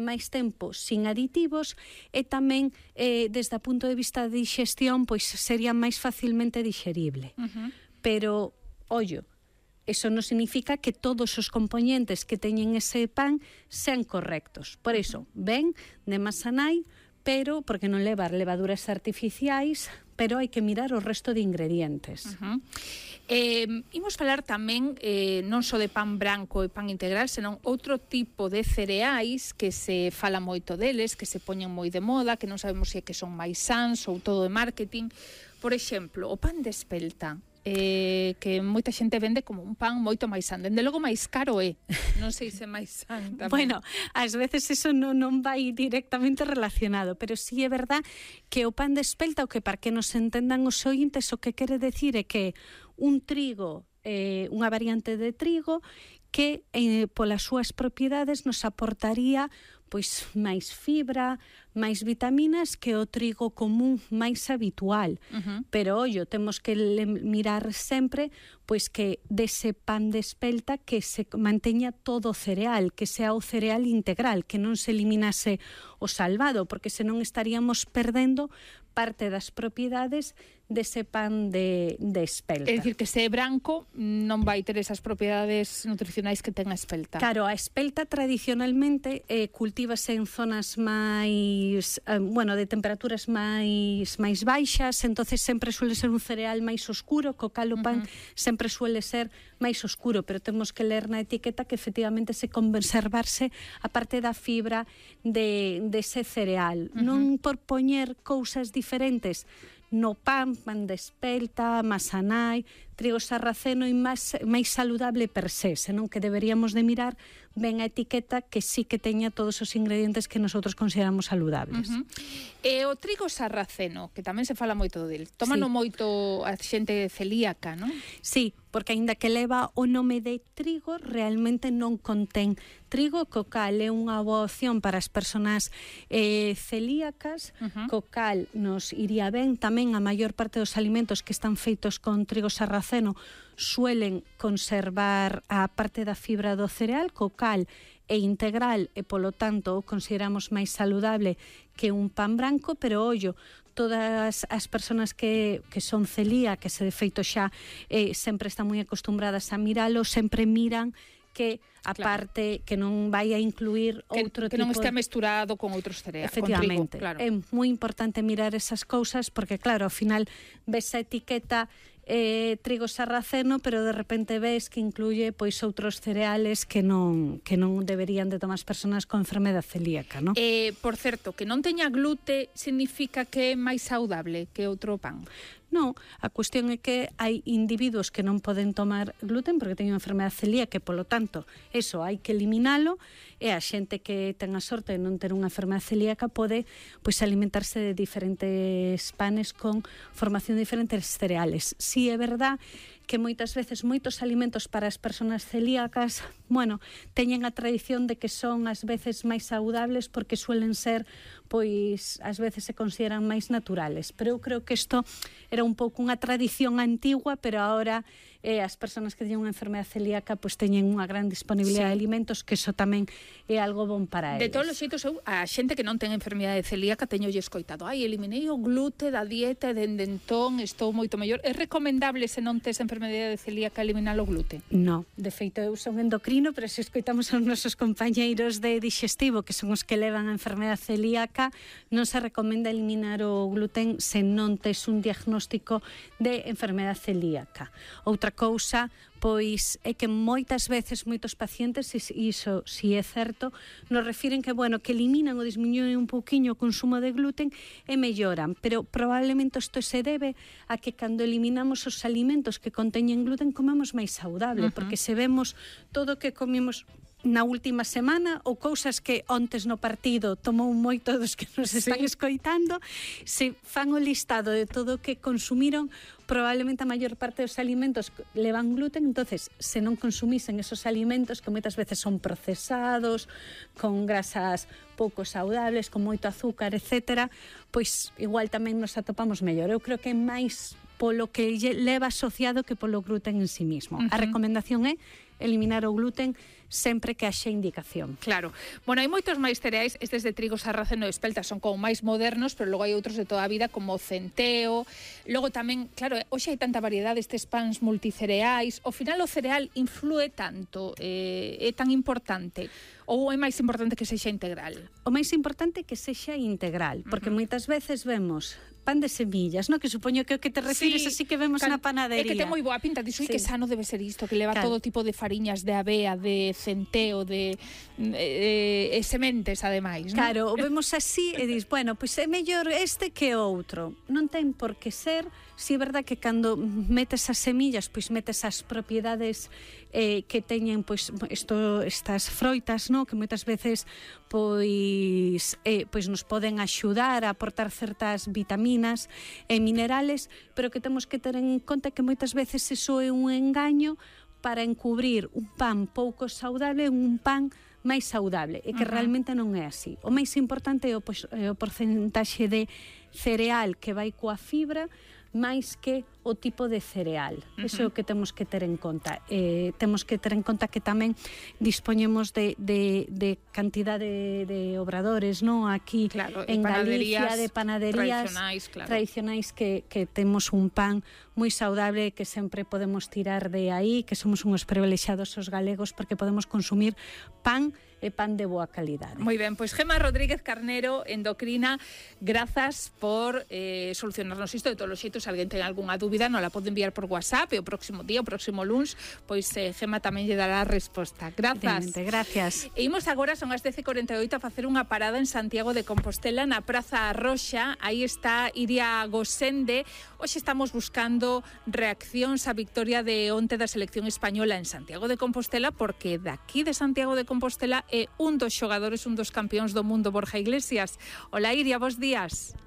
máis tempo sin aditivos e tamén desde o punto de vista de digestión pois sería máis facilmente digerible. Pero, ollo, eso non significa que todos os componentes que teñen ese pan sean correctos. Por iso, ven de Masanai, pero porque non leva levaduras artificiais, pero hai que mirar o resto de ingredientes. Imos falar tamén non só de pan branco e pan integral, senón outro tipo de cereais que se fala moito deles, que se poñen moi de moda, que non sabemos se é que son máis sans ou todo de marketing. Por exemplo, o pan de espelta, que moita xente vende como un pan moito máis san, dende logo máis caro é, non sei se máis san tamén. Bueno, ás veces eso non vai directamente relacionado, pero sí é verdad que o pan de espelta, o que para que nos entendan os ointes, o que quere decir é que un trigo, unha variante de trigo que polas súas propiedades nos aportaría pois máis fibra, máis vitaminas que o trigo común máis habitual. Pero, ollo, temos que mirar sempre pois que dese pan de espelta que se manteña todo o cereal, que sea o cereal integral, que non se eliminase o salvado, porque senón estaríamos perdendo parte das propiedades dese pan de espelta. É dicir, que se é branco non vai ter esas propiedades nutricionais que ten a espelta. Claro, a espelta tradicionalmente cultívase en zonas máis, de temperaturas máis baixas, entonces sempre suele ser un cereal máis oscuro, co cal o pan sempre suele ser máis oscuro, pero temos que ler na etiqueta que efectivamente se conservarse a parte da fibra dese cereal. Non por poñer cousas diferentes no pan de espelta, Masanai, trigo sarraceno e máis saludable per se, senón que deberíamos de mirar ben a etiqueta que sí que teña todos os ingredientes que nosotros consideramos saludables. E o trigo sarraceno, que tamén se fala moito del, tómano moito a xente celíaca, non? Sí, porque aínda que leva o nome de trigo, realmente non contén trigo, co cal é unha boa opción para as persoas celíacas, co cal nos iría ben. Tamén a maior parte dos alimentos que están feitos con trigo sarraceno suelen conservar a parte da fibra do cereal, co cal é integral e polo tanto o consideramos máis saludable que un pan branco, pero ollo, todas as persoas que son celíacas, que de feito xa sempre están moi acostumbradas a miralo, sempre miran que a parte que non vai a incluir outro tipo... Que non estea mesturado con outros cereais. Efectivamente. Con trigo, claro. É moi importante mirar esas cousas porque, claro, ao final ves a etiqueta trigo sarraceno, pero de repente ves que incluye pois outros cereales que non deberían de tomar as persoas con enfermedade celíaca, non? Por certo, que non teña glute significa que é máis saudable que outro pan? Non, a cuestión é que hai individuos que non poden tomar gluten porque teñen enfermedade celíaca, que polo tanto, eso hai que eliminalo, e a xente que ten a sorte de non ter unha enfermedade celíaca pode pois alimentarse de diferentes panes con formación de diferentes cereales. Si é verdad que moitas veces moitos alimentos para as persoas celíacas, teñen a tradición de que son ás veces máis saudables porque suelen ser, pois, ás veces se consideran máis naturales. Pero eu creo que isto era un pouco unha tradición antigua, pero agora as persoas que teñen unha enfermedade celíaca pois teñen unha gran disponibilidade de alimentos, que iso tamén é algo bon para eles. De todos os xeitos, eu, a xente que non ten enfermedade celíaca, teño escoitado, eliminei o glute da dieta e dende entón estou moito mellor. É recomendable, se non tes enfermedade celíaca, eliminar o glute? Non, de feito eu son endocrino, pero se escoitamos aos nosos compañeiros de digestivo, que son os que levan a enfermedade celíaca, non se recomenda eliminar o gluten se non tes un diagnóstico de enfermedade celíaca. Outra cousa, pois, é que moitas veces moitos pacientes, iso si é certo, nos refiren que, que eliminan ou dismiñuen un pouquiño o consumo de gluten e melloran, pero probablemente isto se debe a que cando eliminamos os alimentos que conteñen gluten comemos máis saudable, porque se vemos todo o que comemos na última semana ou cousas que ontes no partido tomou moito dos que nos están escoitando, se fan o listado de todo o que consumiron, probablemente a maior parte dos alimentos levan gluten, entonces se non consumisen esos alimentos que moitas veces son procesados, con grasas pouco saudables, con moito azúcar, etcétera, pois igual tamén nos atopamos mellor. Eu creo que é máis polo que leva asociado que polo gluten en sí mismo. A recomendación é eliminar o gluten sempre que haxe indicación. Claro. Bueno, hai moitos máis cereais, estes de trigo sarraceno e espelta son como máis modernos, pero logo hai outros de toda a vida como o centeo. Logo tamén, claro, hoxe hai tanta variedade estes pans multicereais. Ao final o cereal influe tanto, é tan importante, ou é máis importante que sexa integral? O máis importante é que sexa integral, porque moitas veces vemos pan de semillas, no? Que supoño que o que te refires así que vemos na panadería. É que ten moi boa pinta, dixo que sano debe ser isto, que leva todo tipo de fariñas de avea, de centeo, de sementes, ademais, non? Claro, o vemos así e dis, bueno, pois é mellor este que outro. Non ten por que ser, si é verdad que cando metes as semillas, pois metes as propiedades que teñen pois estas froitas, no? Que moitas veces pois nos poden axudar a aportar certas vitaminas e minerales, pero que temos que ter en conta que moitas veces eso é un engaño para encubrir un pan pouco saudable en un pan máis saudable, e que realmente non é así. O máis importante é o porcentaxe de cereal que vai coa fibra máis que o tipo de cereal. Iso é o que temos que ter en conta. Temos que ter en conta que tamén dispoñemos de cantidade de obradores, no? Aquí en Galicia, de panaderías tradicionais que temos un pan moi saudable, que sempre podemos tirar de aí, que somos uns privilexiados os galegos porque podemos consumir pan e pan de boa calidade. Moi ben, pois Gemma Rodríguez Carnero, endocrina, grazas por solucionarnos isto. De todos os xeitos, se alguén ten algunha dúbida, non la pode enviar por WhatsApp, e o próximo día, o próximo luns, pois Gemma tamén lle dará a resposta. Grazas. Gracias. E imos agora, son as 10:48, a facer unha parada en Santiago de Compostela, na Praza Arroxa. Aí está Iria Gosende. Hoxe estamos buscando reaccións á victoria de onte da selección española en Santiago de Compostela, porque daqui de Santiago de Compostela é un dos xogadores, un dos campións do mundo, Borja Iglesias. Hola, Iria, bos días.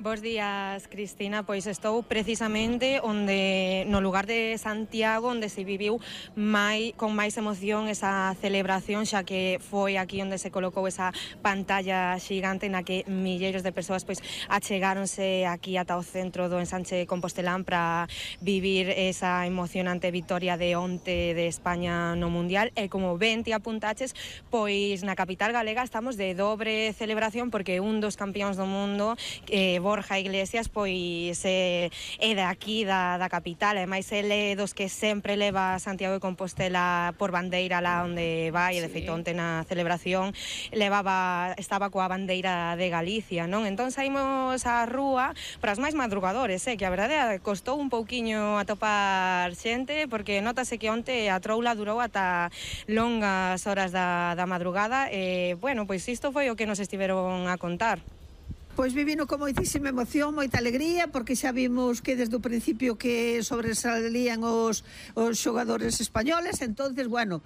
Bos días, Cristina. Pois estou precisamente no lugar de Santiago, onde se viviu con máis emoción esa celebración, xa que foi aquí onde se colocou esa pantalla xigante na que milleiros de persoas pois achegáronse aquí ata o centro do ensanche compostelán para vivir esa emocionante victoria de onte de España no Mundial. E como ben ti apuntaches, pois na capital galega estamos de dobre celebración, porque un dos campións do mundo, Borja Iglesias, pois é de aquí, da capital, e máis ele dos que sempre leva Santiago de Compostela por bandeira lá onde vai, e de feito onte na celebración estaba coa bandeira de Galicia, non? Entón saímos á rúa para os máis madrugadores, que a verdade costou un pouquiño atopar xente, porque notase que onte a troula durou ata longas horas da madrugada, e, bueno, pois isto foi o que nos estiveron a contar. Pois vivino con moitísima emoción, moita alegría, porque xa vimos que desde o principio que sobresalían os xogadores españoles. Entonces, bueno,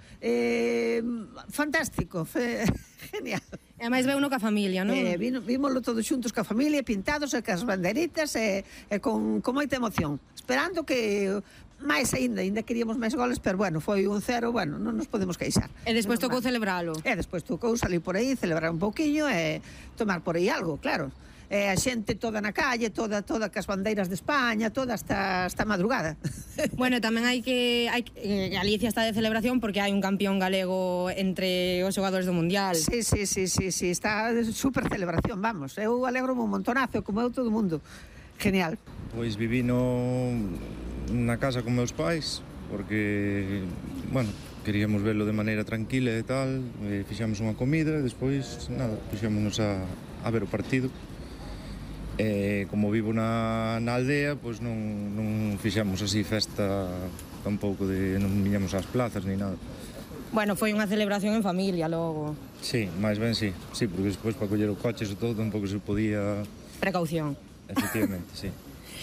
fantástico, genial. E máis veuno ca familia, non? Vímoslo todos xuntos ca familia, pintados e cas banderitas, e con moita emoción, esperando que máis ainda queríamos máis goles, pero bueno, foi 1-0, bueno, non nos podemos queixar. E despois tocou celebralo. E despois tocou salir por aí, celebrar un pouquiño e tomar por aí algo, claro. A xente toda na calle, toda cas bandeiras de España, toda esta madrugada. Bueno, tamén hai que Galicia está de celebración porque hai un campión galego entre os xogadores do Mundial. Sí, está de super celebración, vamos. Eu alegro-me un montonazo, como eu todo o mundo. Genial. Pois viví na casa con meus pais, porque, bueno, queríamos verlo de maneira tranquila e tal, fixamos unha comida e despois, nada, fixámonos a ver o partido. Como vivo na aldea, pois non fixamos así festa tampouco, non viñamos ás plazas ni nada. Bueno, foi unha celebración en familia logo. Sí, máis ben sí, porque despois para coller o coche e todo tampouco se podía... Precaución. Efectivamente, sí.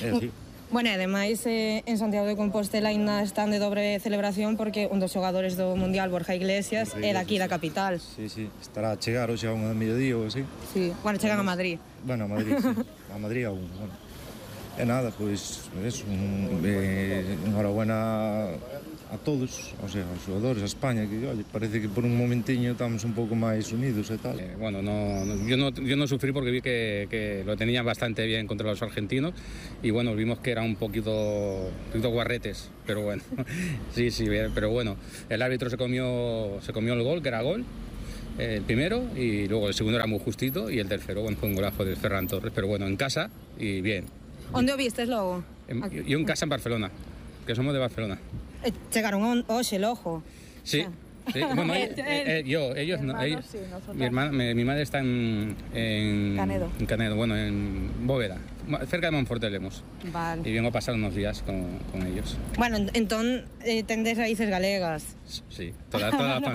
É así. Bueno, e ademais en Santiago de Compostela ainda están de dobre celebración porque un dos xogadores do Mundial, Borja Iglesias, é daqui da capital. Sí, estará a chegar hoxe a unha da mediodía ou así. Sí, bueno, chegan a Madrid. Bueno, a Madrid, sí. A Madrid aún, bueno. E nada, pois, enhorabuena a a todos, o sea, aos xogadores, a España, que oye, parece que por un momentiño estamos un pouco máis unidos e tal. Bueno, yo no sufrí porque vi que lo tenían bastante bien contra los argentinos y bueno, vimos que eran un poquito guarretes, pero bueno, sí, pero bueno, el árbitro se comió el gol, que era gol, el primero, y luego el segundo era muy justito y el tercero, bueno, fue un golazo de Ferran Torres, pero bueno, en casa y bien. Onde o vistes logo? Yo en casa en Barcelona, que somos de Barcelona. Chegaron hoxe logo. Sí. Sí, bueno, ellos no. Sí, Mi madre está en Canedo. En Canedo, bueno, en Bóveda, cerca de Monforte Lemos. Vale. Y vengo a pasar unos días con ellos. Bueno, entón tendes raíces galegas. Sí, toda la familia.